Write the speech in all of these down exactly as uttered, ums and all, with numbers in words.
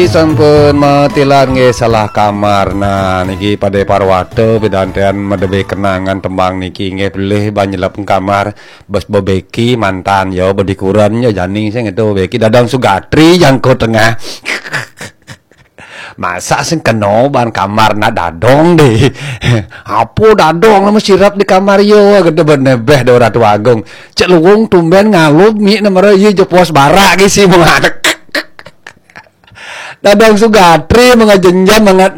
Sampun matilar nggih salah kamar. Nah, niki Pade Parwata pidantian madebé kenangan tembang niki nggih pelih banyelep kamar bes bebeki mantan ya bedikuran ya jani sing itu bebeki dadang sugatri jangko tengah. Masa sing kena ban kamar nak dadong deh. Apa dadong nama sirap di kamar yo kata benebeh do Ratu Agung. Cek luwung tumben ngalup mi nama ye jepos barak gisi mengadek. Dadang sugatri mengajenjan mangat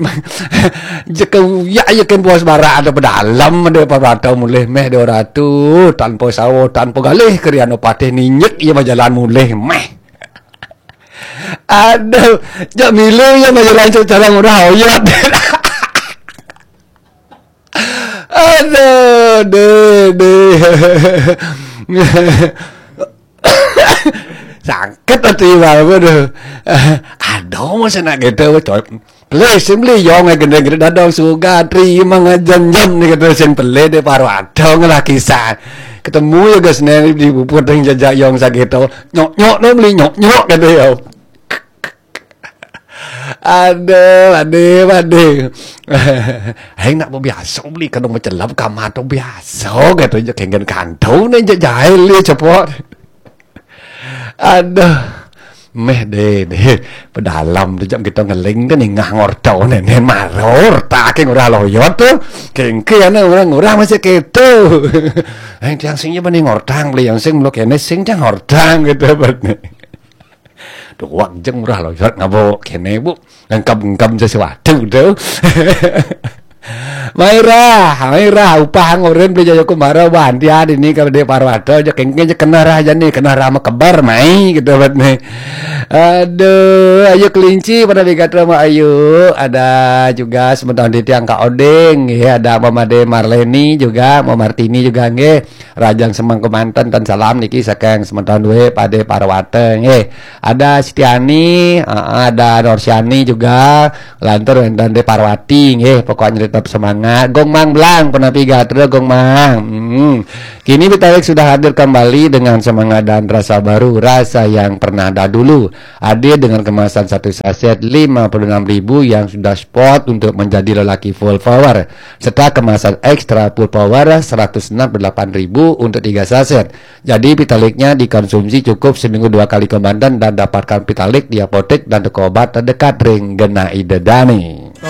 jeka uyak ye ken puas barak ada pedalam ada patau mulih meh dua ratu tanpa sawo tanpa galih keriano patih ninyek ye bajalan mulih meh. Aduh, jak milu ye bajalan secara murah oyot. Aduh, deh, deh. Sakit hati baru tu. Aduh, masa nak gitu, coy. Please, simply yong ai gede-gede dadong suga terima ngajan jam ni kata sen pele de paru adong lah kisah. Ketemu ya guys ni di bubur teng jajak yong sageto. Nyok nyok no beli nyok nyok kata ya. Aduh, aduh, aduh. Hai nak biasa beli kadang macam lap kamar tu biasa kata je kenggan kantau ni je jahil dia cepot. Aduh. Meh deh deh pedalam tu jam kita ngeling kan ingah ngortau nenen maror tak ke ngurah loyot tu kengke ana orang ngurah masih keto. Yang tiang sing je bani ngortang beli yang sing belok kene sing tiang ngortang gitu bani. Duh wak jeng ngurah loyot ngabo kene bu ngengkam ngengkam sesuatu tu. Mairah, Mairah, upah ngoren beli jaya kumara bantian ini kalau dia parwata aja kengkeng aja kena rah aja nih, kena rah makebar mai gitu buat nih. Aduh, ayo kelinci pada bigat sama ayo. Ada juga sementara di tiang Kak Oding, ya ada Mama De Marleni juga, Mama Martini juga nggih. Rajang Semang Kemanten dan salam niki saking semeton duwe Pade Parwata nggih. Ada Setiani, heeh, ada Norsiani juga, lantur wonten Dek Parwati nggih. Pokoknya tetap semangat. Gong Mang Blang, penapi gatra Gong Mang. Hmm. Kini Vitalik sudah hadir kembali dengan semangat dan rasa baru, rasa yang pernah dahulu. Hadir dengan kemasan satu saset lima puluh enam ribu yang sudah spot untuk menjadi lelaki full power, serta kemasan ekstra full power seratus enam puluh delapan ribu untuk tiga saset. Jadi Vitaliknya dikonsumsi cukup seminggu dua kali ke Banten dan dapatkan Vitalik di apotek dan toko obat terdekat ring genah Ida Dani.